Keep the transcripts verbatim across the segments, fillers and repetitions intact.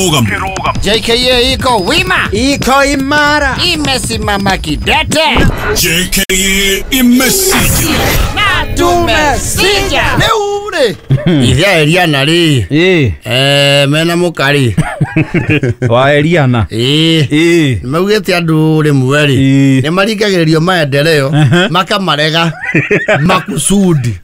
J K A iko wima, iko imara, imesimama kidete. J K A imesija na tumesija. Leo ure ithia Eliana ri eh eh mena mukari wa Eliana eh eh maugite andu rimwe ri ni marikagiririo maendeleo makamarega makusudi.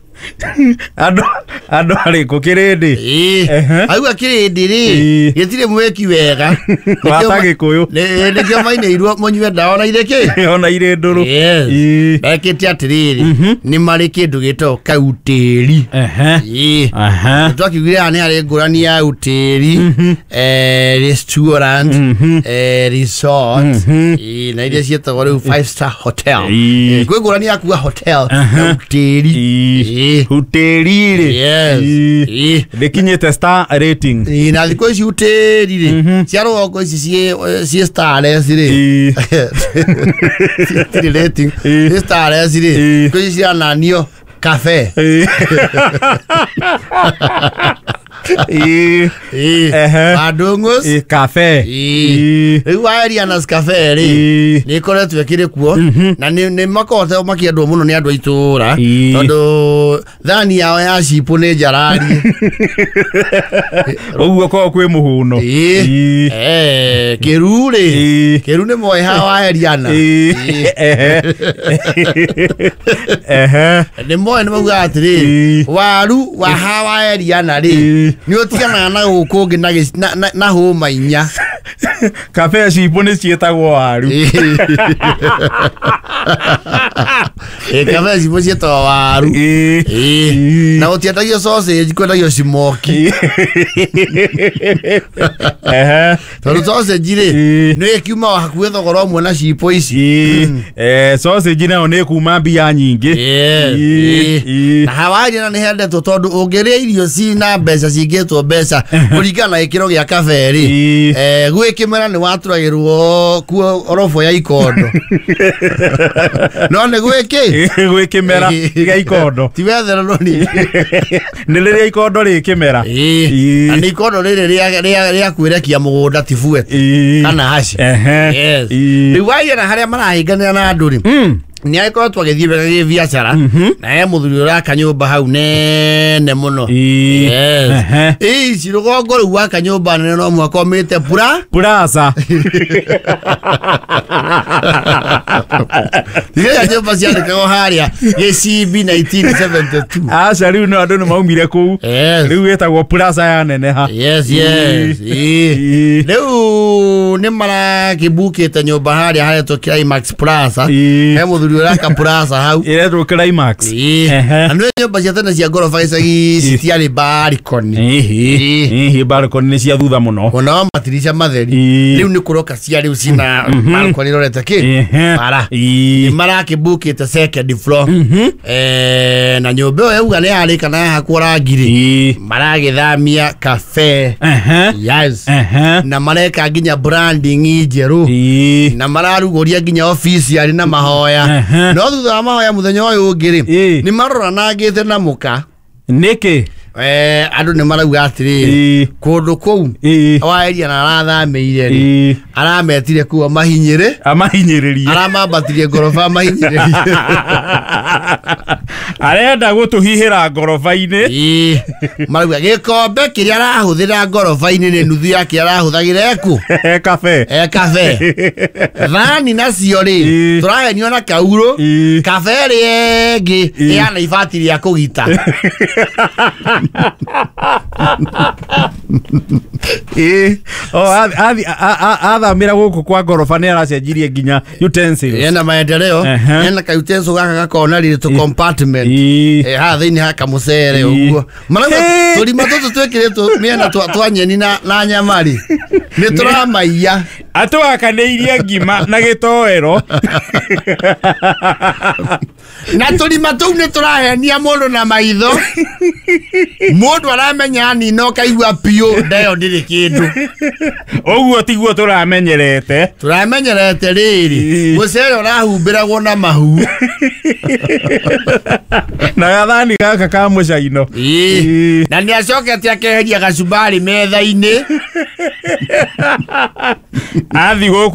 Andu andu ariku kirindi eh auga kirindi ri gitire mweki wega wata gikuyu nikio maineirwo munyue ndawa na iriki ona iri nduru. Yes, bekite atiriri ni mari kindu gitagwo kautiri. Ehe aha, twakiugire ni ari ngurani ya utiri, eh restaurant, eh resort, na iria cietagwo riu five star hotel. Kwi ngurani ya kuga hotel na utiri. Hoteli ri. Yes. Ndikinyite star rating. Ĩ na thikũ ici hoteli ri cia rũgongo ici ciĩ starless ri citirĩ rating, ciĩ starless ri thikũ ici cirananio cafe. Ĩ Bandung'us cafe. Rĩu wa Eliana's Cafe rĩ nĩ ĩkoretwo ĩkĩrĩ kuo na nĩ makoretwo makĩendwo mũno nĩ andũ a itũũra tondũ thani yao ya cipũ nĩ njararie. Ũguo korwo kwĩ mũhũno. Eh kĩru rĩ, kĩru nĩ moĩ ha wa Eliana. Nĩ moĩ, nĩ maugaga atĩrĩrĩ, waru wa ha wa Eliana rĩ nĩ ũtiganaga na gũkũ ũngĩ na na hũma inya. Cafe cipũ nĩ ciĩtagwo waru. Ĩ cafe cipũ ciĩtagwo waru. Ĩ na gũtiendagio sausage, kwendagio cimoki. Ehe, tondũ sausage rĩ nĩ ĩkiuma hakuhĩ thogora ũmwe na cipũ ici. Eh sausage nayo nĩ kuma mbia nyingĩ. Na hawaria na nĩ hendetwo tondũ ũngĩrĩa irio cina mbeca cingĩtwo mbeca kũringana na gĩkĩro gĩa cafe rĩ, eh gwĩ kĩmera nĩ waturagĩrwo kuo orobo ya ikondo. No nĩ gwĩkĩ gwĩ kĩmera gĩa ikondo ti wethererwo ningĩ nĩ rĩrĩa ikondo rĩ kĩmera. Na nĩ ikondo rĩrĩ rĩa kwĩrekia mũgũnda ti buete kana haci. Rĩu waria na harĩa marahĩnganĩra na andũ rĩ nĩ agĩkoretwo agĩthiĩ wega gĩbiacara na he mũthuri ũraka nyũmba hau nene mũno. Yes, ici rũgongo rĩu waka nyũmba nene no mũhaka ũmĩte pura plaza. Iria nyũmba ciandĩkagwo harĩa Gĩcimbi nineteen seventy two. Aca rĩu no andũ nĩ maumire kũu, rĩu ĩtagwo plaza ya neneha. Yes yes. Rĩu nĩ marakĩbukĩte nyũmba harĩa haretwo Climax Plaza. He mũthuri ũraka plaza hau ĩretwo Climax. Na nĩ nyũmba cia tene cia ngoroba gĩcagi citiarĩ balcony. Ĩhĩ, balcony nĩ cia thutha mũno ona matirica matheri. Rĩu nĩ kũroka cia rĩu cina balcony rorete kĩ bara. Nĩ marakĩbukĩte second floor. Eh na nyũmba ĩyo yauga nĩ yarĩka na yahakwo rangi rĩ, maragĩthamia cafe. Yes, na mareka nginya branding njerũ na mararugũria nginya office yarĩ na mahoya. No thutha wa mahoya mũthenya ũyũ ũngĩ rĩ nĩ maroranangĩte na mũka. Nĩkĩ? Eh andũ nĩ marauga atĩrĩrĩ, kũndũ kũu wa Eliana arathamĩire rĩ, arametire kũu amahinyĩrĩ amahinyĩrĩrie, aramambatirie ngoroba amahinyĩrĩrie, arenda gũtũhihĩra ngoroba-inĩ. Marauga gĩkombe kĩrĩa arahũthĩra ngoroba-inĩ nĩ nuthu ya kĩrĩa arahũthagĩra eku e cafe e cafe. Thani nacio rĩ tũrahenio na kaurũ, cafe ĩrĩa ĩngĩ ĩhana ibati rĩa kũgita. Ĩ o athamĩra gũkũ kwa ngoroba nĩ aracenjirie nginya utensils. Ena maendeleo, ena ka utensil gaka gakona rĩ tũ compartment eh haha thĩinĩ ha kamũcere ũguo. Marauga tũrima tũtũ twĩkĩrĩtwo mĩena twa nyeni na na nyama rĩ nĩ tũramaiya. Atũhakanĩirie ngima na gĩtoero. Na tũrima tũu nĩ tũrahenia mũndũ na maitho. Mũndũ aramenya nina ũkaigua piũ ndeyo ndĩrĩ kĩndũ. Ũguo tiguo tũramenyerete. Tũramenyerete rĩrĩ mũcere ũrahumbĩragwo na mahu na gathani gaka ka mũcaino. Na nĩ acokete akeheria gacumbari metha-inĩ. Athi gũkũ.